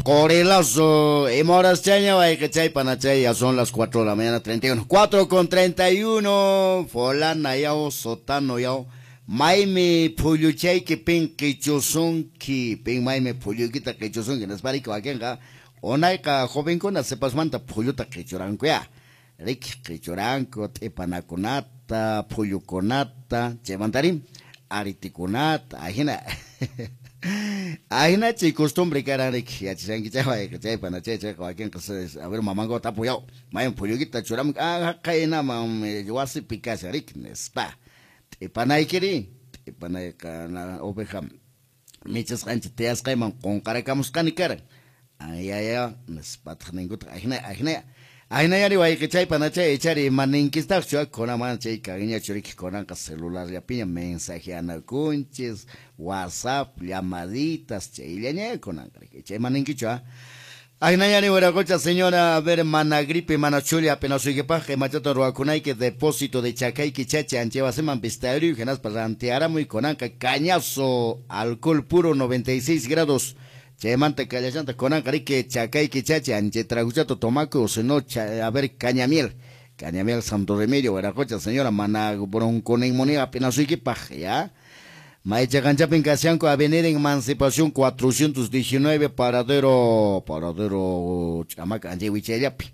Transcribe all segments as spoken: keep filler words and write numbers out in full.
Corelazo, y chaña, chay ya son las cuatro de la mañana, treinta y uno. cuatro con treinta y uno, Folana yao, Sotano yao, Maimi pulluchayki pin qichusunki, pin maimi pullukita qichusunki, nispariki wakinqa, unayqa jovenkuna sipasmanta pulluta qichuranku ya. Riki qichuranku, t'ipanakunata, pullukunata, chaymantari, aritikunata, ahina. Ahina chay costumbre karan riki, yachashanki chay wayqa, chaypana chay chayqa wakinqa, a ver mamanku tapuyaw, maymi pullukita churamun, ah, haqaynaman wasipi kashan riki, nispa. T'ipanaykiri, t'ipanayqa oveja michisqanchik tiyasqayman qunqarakamusqani karan. Ayaya, nispataq ninkutaq, ahina, ahina. Ahinayari wayqi chaypana chay ichari maninkistaqchu, kunaman chay kanñachu riki kunanqa celularllapiña mensajeanakunchis, WhatsApp, llamaditas, chayllaña kunanqa riki. Chay maninkichu, ah. Ahinayari wiraqucha señora, a ver, mana gripe, mana chulla, apenasuykipaqqa imachata ruwakunayki depósito de chakayki chachi anchewasiman vistariyu hinaspa rantiaramuy kunanqa cañazo, alcohol puro noventa y seis grados. Chaymanta kallashanta kunanqa riki chakayki chachi anche traguchato tomaku o si no, a ver, cañamiel. Cañamiel Santo Remedio, wiraqucha señora, mana bronconeumonía apenasuykipaq, ya. Maychaqanchapin kashanku Avenida Emancipación cuatrocientos diecinueve, paradero, paradero Chamaca, anche wichayllapi.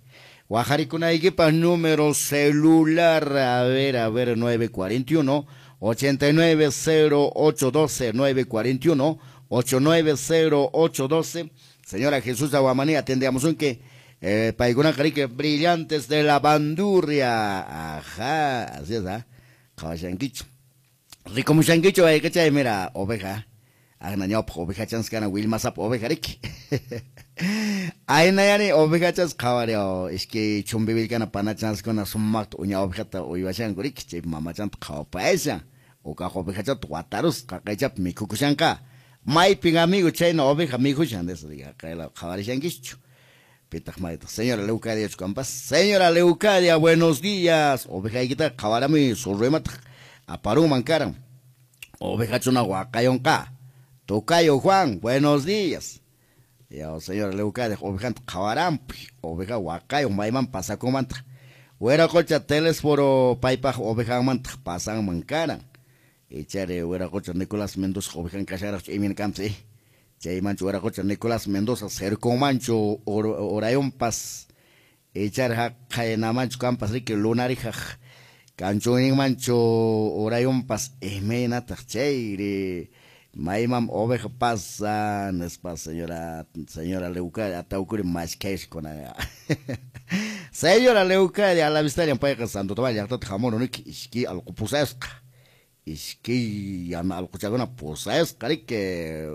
Wajarikunaykipaq número celular, a ver, a ver, nueve cuarenta y uno, ochenta y nueve cero ocho doce, nueve cuarenta y uno, ocho nueve cero ocho doce. Señora Jesús Aguamaní, atendíamos un que, eh, paiguna carique, brillantes de la bandurria. Ajá, así es, ¿ah? Kawashankicho. Rico mushankicho, ay, chay, mira, oveja. Agnañop, oveja chanskana, Wilmasap, oveja riki. Ay, nayani, oveja chans, kawario, es que chumbivilcana, pana chanskona, sumakto, uña ovejata, uywashanku riki, chay, mamachanta, kawapaesa. Oka oveja chat, guatarus, kakaychap, mikukushanka. Maypin amigo, chayna oveja mikushan, de eso diga, kawarishankichu. Pitaq maytaq, señora Leucadia Chumpas, señora Leucadia, buenos días. Oveja ikita, kawarami, surruimataq, aparuman karan. Oveja chuna huacayonka. Tocayo Juan, buenos días. Ya, señora Leucadia, ovejanta kawarampi, oveja huacayo, mayman pasakumanta. Hueracocha telesforo paypaq ovejanmanta pasanman karan. Ichare hueracocha Nicolás Mendoza ovejan kasharaq imin kamsi. Chaymanchu hueracocha Nicolás Mendoza cercomanchu orayonpas. Ichare haqaynamanchu kampas riki lunarijaq. Kanchuninmanchu orayonpas imaynataq chayri. Maymam oveja pasan, nispa señora, señora Leucadia, atawkuri mashkayshkuna. Señora Leucadia, a la vista payqa Santo Tomás llaqtata hamurun riki ishki allqu pusasqa. Ishki yana allquchakuna pusasqa riki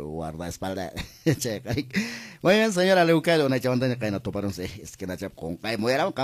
guardaespalda. Chayqa riki. Muy bien, señora Leucadia, unaychamantaña qayna tuparunsi esquinachap qunqay muyarawan.